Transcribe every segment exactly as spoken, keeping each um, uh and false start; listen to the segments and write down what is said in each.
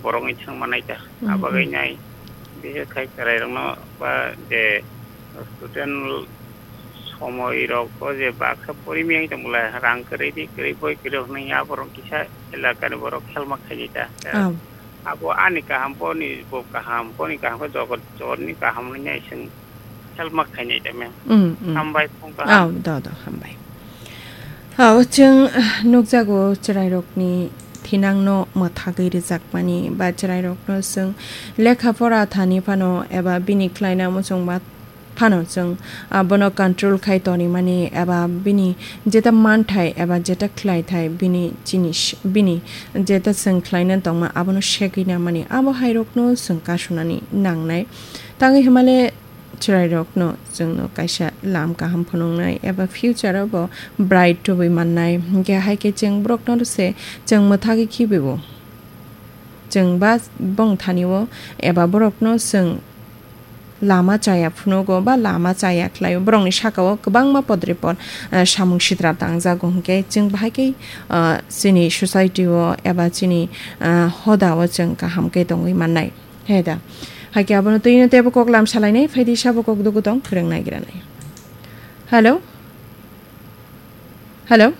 borok ni thang manai ta. Hmm, Abagwi hmm. nai, bihe khai chwrai rokno ba je student somoi rok o je baksa pori miyang tong bwla rang kwrwi di kwrwi boi kwrwi rok nang ya borok kisa elaka ni borok helma khai di ta. Ah. Abo ani kaham boni bo kaham boni kaham khe jogot jotni kaham ni nai sing helma khainai da mem. Mm, mm. Hambai phung kaham. Aw, do, do, hambai. Aw, chwng, ah, nukjago chwrairokni thinangno mwthagwi rwjakmani ba chwrairokno chwng lekha pora thani phano eba bini khlaina muchungma phano chwng, ah, bono control khai tonimani eba bini jeta manthai eba jeta khlaithai bini jinis, bini jeta chwng khlaina tongma abono segwi namani abo hairokno chwng kasunani nangnai. Tangwi hwnmale chwrairokno chwngno kaisa lam kaham phunuknai eba future o bo bright tubui mannai. Hinkhe hai khe chwng borokno se chwng mwthagwi khibibo. Chwng ba bong thani o eba borokno chwng lama chaya phunugo ba lama chaya khlaio. Borokni saka o kwbangma podrepot, eh, samung sitra tangjago hinkhe chwng bahai khe, eh, chini society o eba chini, eh, hoda o chwng kaham khe tongwi mannai. He da. Hai khe abono twi no teibo kok lam salainai, phaidi sabo kok dugu tong, phwrwng nai gra nai. Hello? Hello?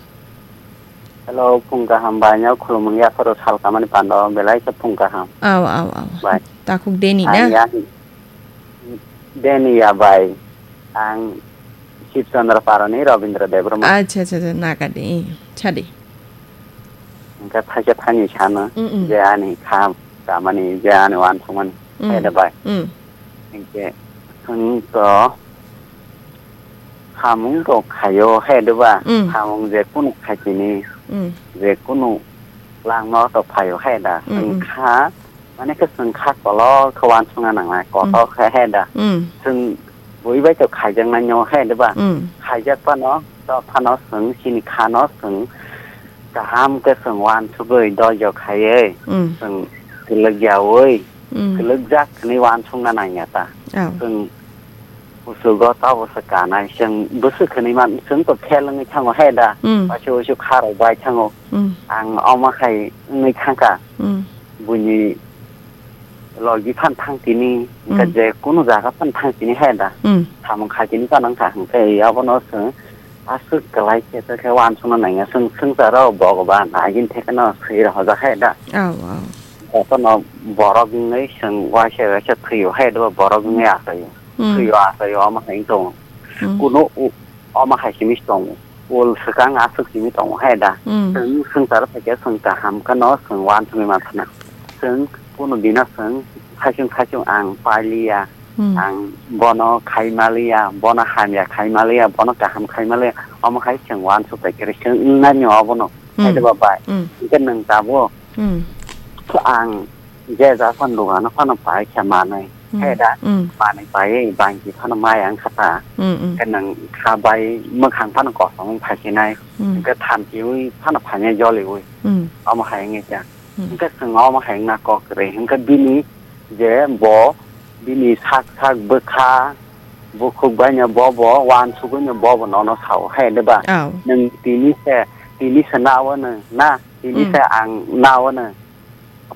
Hello, phung kaham bai, no khulumung yapharo sal kamani pando, belai khe phung kaham. Aw, aw, aw. Bai. Takhuk Deni Ang na? ya, Deni ya bai. Ang Shib Chandra Parani Rabindra Debbarma. Acha, acha, acha, naga de, eh, chadi. Hingke thaisa thani sano, Mm, mm. je ani kham kamani, je ani wansukmani, Mm. khaida bai. Mm. Hingke chwng to samung rok khaio, khaida ba? Mm. Samung je kunu khaikini, Mm. je kunu langma to phaio, khaida. Mm, Chwng mm. kha Mane khe chwng kha kolok khe wansukna nangnai, kotor Mm. khe he da. Mm. Chwng bui bai to khaijaknai no he da ba? Mm. Khaijak phano, to phano chwng chini kha no chwng kaham khe chwng wansugwi doijo khaiwi Mm. chwng kwlwk yaui Mm. kwlwkjak hwnwi wansukna nangya ta. Oh. Chwng Kuchugo tabukhe kanai, chwng bwswk hwnwi man, chwng to fel wngwi thango he da, Mm. waisa waisa kha rok bai thango. Mm. Ang omo hai wngwi thangkha, Mm. buini logi phan thang tini, hwnkhe Mm. je kunu jaga phan thang tini he da, Mm. samung khai tini phano wngkha, hwnkhe abono chwng aswk kwlai khe, khe wansukna nangya, chwng swngcharo Bhogoban agini thekheno swi rohorjak he da. Oh, wow. Jotono borok wngwi chwng waisa waisa thwio he da, borok wngwi achaio. Mm. Thwio achaio, omo hai tongo. Mm. Kuno u-, omo hai simi tongo. Ul swkang aswk simi tongo hai da. Mm. Chwng swngchar phaikhe chwng kaham kheno chwng wansugwi manthana. Chwng kuno dino chwng khaichung khaichung ang pailiya. Mm. Ang bono khaimaliya, bono hamya khaimaliya, bono kaham khaimaliya. Omo hai chwng wansuk phaikhe chwng wngnani obono. Mm. Hai da ba bai. Mm. Hwnkhe nwng tabuk. Mm. Ang je ja phano dogano phano pai khe manwi. Mm. Hai da? Mm. Manwi paiwi bangchi phano maya wngkha ta. Mm, mm. Hwnkhe nwng kha bai mwkhang phano kosom wng phaisinai. Mm. Hwnkhe thamchiwi phano phainai joliwi. Mm. Omo hai wngwi kha. Mm. Hwnkhe chwng omo hai wngna kok kwrwi. Hwnkhe bini je bo bini sak sak bwkha bukhuk baino bo bo wansugwino bo bo nono sao hai de ba? Oh. Nwng tini se, tini se naono na, tini Mm. se ang naono.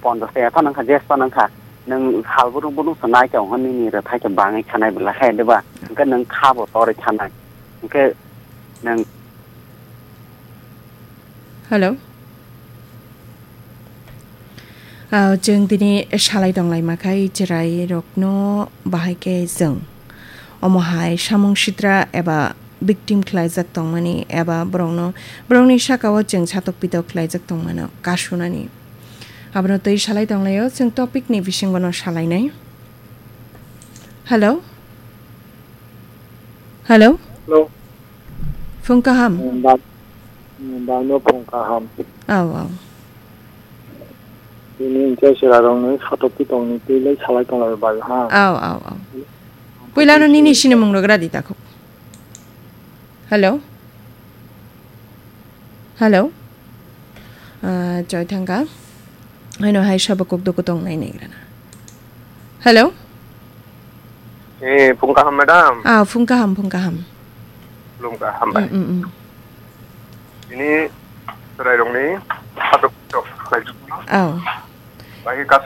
Pondos kaya phano wngkha, jes phano wngkha. Nwng sal bwrwng bwrwng se nai tong hwn nini rwthai khe bangwi khanai bwla hai de ba? Hwnkhe nwng kha bo torwi thanai. Hwnkhe nwng Hello. Ah, chwng tini salai tonglaima khai chwrai rokno bahai khe chwng omo hai samung sitra eba victim khlaijak tongmani eba borokno, borokni saka o chwng satok pitok khlaijak tongmano kasunani. Abono twi salai tonglaio, chwng topic ni bisingo no salainai. Hello? Hello? Hello. Phung kaham? Bang, bangno phung kaham. Aw, aw. Tini hwnkhe chwrairokni satok pitokni twi lai salai tonglai bai ha. Aw, aw, aw. Puilano nini sinimung rok radi takhuk. Hello? Hello? Ah, choi thangkha. Haino hai sabo kok doko tong nai nai grana. Hello? Eh, phung kaham, madam? Ah, phung kaham, phung kaham. Phung kaham bai. Mm, mm, mm. Ini chwrairokni satok pitok khlaijak. Oh. Bai khe kaso